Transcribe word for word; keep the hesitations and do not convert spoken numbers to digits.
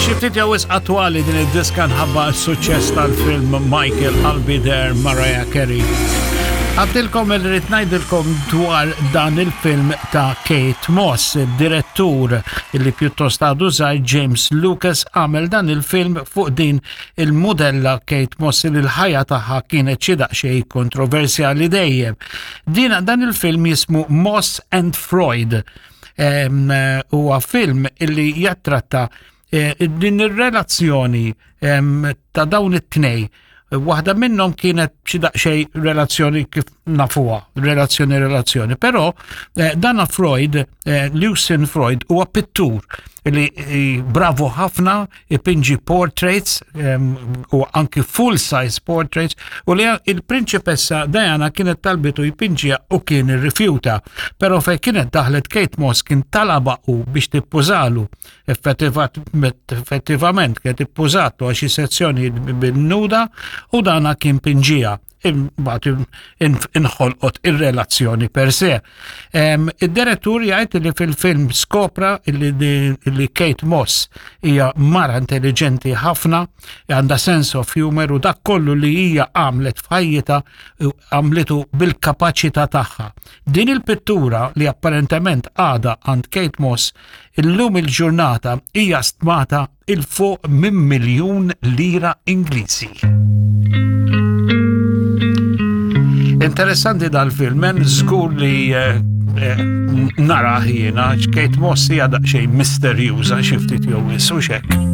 Xi ftit jew wisq attwali din id-diska nħabba s-suċċess tal-film Michael I'll Be There Mariah Carey. Għedtilkom li rrid ngħidilkom dwar dan il-film ta' Kate Moss, direttur li pjuttost għadu żgħir James Lucas għamel dan il-film fuq din il-modella Kate Moss li l-ħajja tagħha kienet xi daqsxejn kontroversjali dejjem. Din dan il-film jismu Moss and Freud. Huwa film illi jattratta eh, din ir-relazzjoni ta' dawn it-tnej. Waħda minnhom kienet xi daqsxejn relazzjoni kif nafuha, relazzjoni relazzjoni, però eh, dana Freud, eh, Lucien Freud huwa pittur li eh, bravo ħafna ipinġi portraits u anki full size portraits u li il-prinċipessa Diana kienet talbitu jpinġiha u kien irrifjuta. Però fej kienet daħlet Kate Moss kien talaba u biex tippużalu effettivament kienet ippużatu għal xi sezzjoni bin-nuda u dana kien pinġija imbagħad inħolqot ir-relazzjoni per se. Id-direttur jgħid li fil-film skopra li Kate Moss hija mara intelligenti ħafna, għandha sense of humor u dak kollu li hija għamlet f'ħajjitha għamlitu bil-kapaċità tagħha. Din il-pittura li apparentement għada għand Kate Moss illum il-ġurnata hija stmata 'il fuq minn miljun lira Ingliżi. Interessanti dal-film, men żgur li eh, eh, nara jiena, Kate Moss hija daqsxejn misterjuża xi ftit jew wisq hekk.